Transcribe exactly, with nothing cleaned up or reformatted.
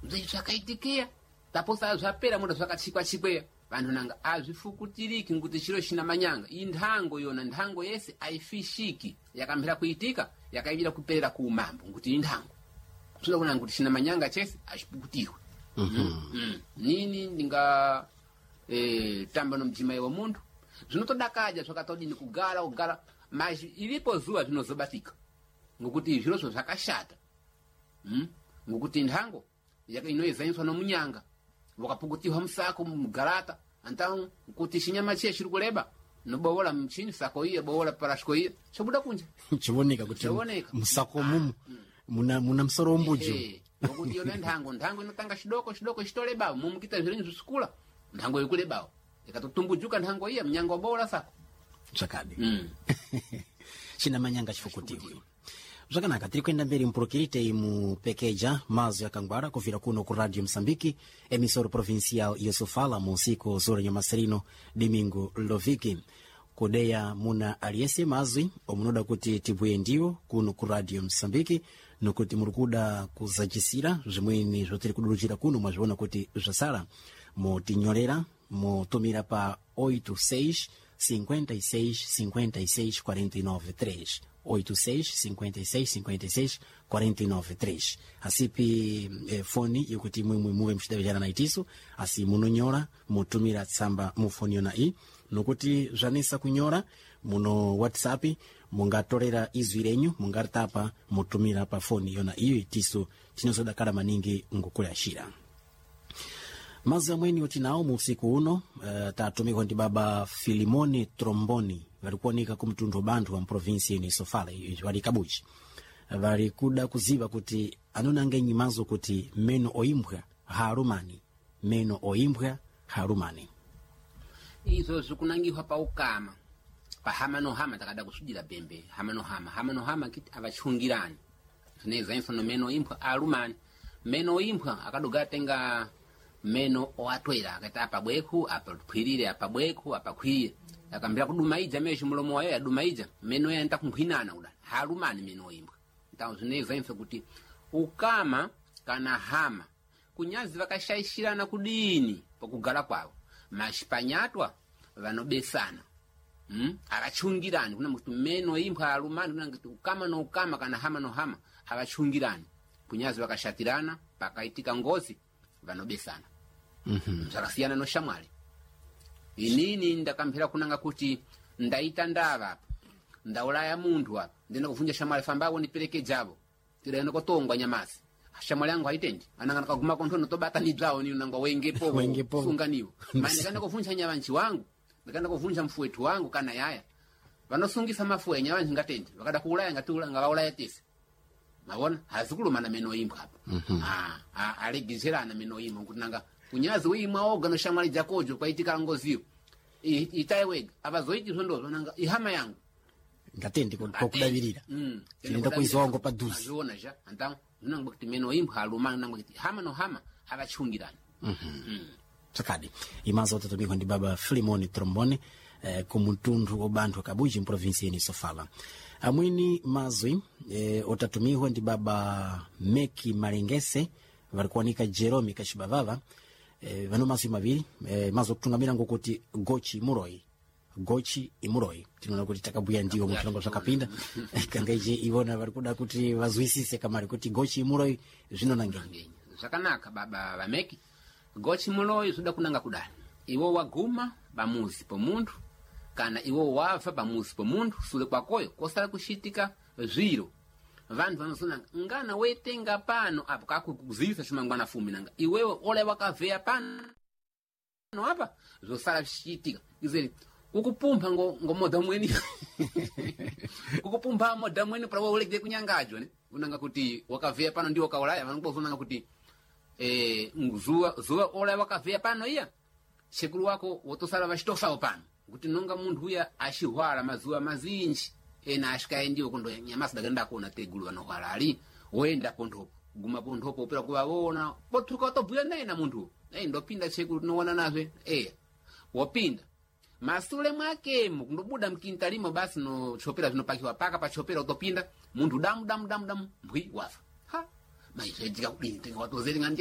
Zvi zvakaitikia taposa zvapera muda zvakachikwa-chikweya vanhu nanga azvifukutiriki nkuti chiro china manyanga iyi nthango yona nthango yese ayifishiki yakamphera kuitika yakaivira kuperera ku umambo nkuti iyi nthango zvinoda kunanga kuti china manyanga chese achipukutirwe. mm mm. Nini ndinga eh, tamba no mdzimai wa munthu zvinotodakaja zvakatodini kugara kugara mas ilipo zuwa zvinozobatika ngokuti zvirozvo zvakashata mm? ngokuti nthango yaka- inoyezaniswa nomunyanga wakapukutihwa musako mugalata antau kuti chinyama chiye chiri kuleba nobowola mchini sako iya bowola parashiko iya chobuda kunja. Chioneka kuti Chioneka. musako mumu muna, muna msoro wombuju. Ehe, ngokuti yona nthango nthango inotanga chidoko chidoko chitolebawo mumukita zvirenyu zvisikula nthango ikulebawo ikatotumbujuka nthango iya mnyanga wabowola sako. Zvakadi mm. china manyanga chifukutiwe zvakanaka. Tiri kuenda mberi mpurukirite mupekeja mazo yakangwara kuvira kuno ku Radio Msambiki, emissora provincial yosofala mu usiku zora nyamasirino domingo loviki kudeya muna aliyese mazwi omunoda kuti tibhuye ndiwo kuno ku Radio Msambiki nokuti muri kuda kuzachisira zvimweni zvotiri kuduruchira kuno mwazviona kuti zvasara motinyorera motumira pa oito seis cinquenta e seis cinquenta e seis quarenta e nove três, oito seis cinquenta e seis cinquenta e seis quarenta e nove três. Asipi eh, foni yokuti mwimwe muve muchidavijana naitiso asi munonyora mutumira tsamba mufoni yona iyi nokuti zvanesa kunyora muno WhatsApp mungatorera izwi renyu mungaritapa mutumira pa foni yona iyo itiso tinozodakara maningi ngokuyashira mazi amweni otinawo mu usiku uno. uh, tatumikwa ndi baba Filimoni Tromboni vari kuoneka ku mtundu wa banthu wa mprovinsi ino Sofala vari Kabuchi vari kuda kuziva kuti anonanga nyimazo kuti meno oimbwa haalumani, meno oimbwa haalumani. Izvo zvikunangihwa paukama pahama no hama takada kusudira bembe hama no hama hama no hama kiti avachungirani zvinezainswa no meno imbwa alumani meno imbwa akadoga tenga meno oatwera akaita apa bwekhu apa phwirire apa bwekhu apa khwirire akambira kudumaidza mesho mulomo wayo yadumaidza meno yaenda kunkhwinana kuda halumani meno imbwa. Então zvinezainswa kuti ukama kana hama kunyazi vakashaishirana kudini pakugara kwavo mashipanyatwa vanobesana mm? Avachungirani kuna kuti meno imbwa alumani kuna kuti ukama no ukama kana hama no hama avachungirani kunyazi vakashatirana pakaitika ngozi vanobesana. mm-hmm. Zvakasiyana no shamwari inini ndakamphera kunanga kuti ndaita ndava apa ndaulaya munthu apa ndina kuvunja shamwali fambawo niperekejavo tidaenda kotongwa nyamasi shamwali yangu haitendi ananga nakaguma kontho notobata nibzawo ni nangwa wengepo Wengepo. sunganiwo mani ndikaenda kuvunja nyavanji wangu ndikaenda kuvunja mfuwetu wangu kana yaya vanosungisa mafuwe nyavanji ngatendi vakada kuulaya ngatiula ngavaulaya tese mavona hazikulumana meno imbwa apa. Ah, ah, alegezerana meno imbwa kuti nanga kunyazi uimwa oga no shamwali dzakojo kwaitika ngoziyo I- itai wega avazoiti zvondozvo nanga ihama yangu. Ngatendi kokudavirira Mm. tinoenda kuiziwa wangu padhuze. Azviona ja antao zvinangwa kuti meno imbwa alumana nangwa kuti hama no hama avachungirani. Tsakadi imazo otatumikwa ndi baba Filimoni Trombone eh, kumutundu wa banthu Kabuji mprovinsi ino Sofala. Amwini mazwi eh, otatumikwa ndi baba Meki Malengese vari kuoneka Jeromi Kachibavava eh, vano mazwi maviri eh, mazwi okutungamira ngokuti gochi muroi gochi imuroi tinoona kuti takabuya ndiwo muzvirongwa zvakapinda kangaije ivona vari kuda kuti vazwisise kamari kuti gochi imuroi zvinonangenyi. Ngenyi zvakanaka baba vameki gochi muloyi zvoda kunanga kudani iwo waguma pamuzi pomunthu kana iwo wabva pamuzi pomunthu sule kwakoyo kosala kuxitika zviro vanthu vanozonanga ngana wetenga pano apo kakuzivisa cimangwana fumi nanga iwewe ole wakavheya pano apa zvosala zvichiitika izeri kukupumpha ngo, ngo modha mweni kukupumpha modha mweni para ulegere kunyangajwa ne unanga kuti wakavheya pano ndiwo kaulaya vanongozonanga kuti eh, zuva zuva ola wakavheya pano iya sekuru wako wotosala vachitofawo pano kuti nonga munthu uya axihwala mazuva mazinji ena axikaendiwo kondo nyamasi dakenda kuona tegulu vanohwala ali woenda ponthopo guma ponthopo upera kuvavona pothuka watobhuya naye na munthu ei ndopinda sekuru tinoona nazve eya wopinda masule mwakemo kundobuda mkintalimo basi no chopera zvinopakiwa paka pachopera utopinda munthu damu damu damu damu mbwi wafa ha maizvaitika kudini tenga watozeri ngani.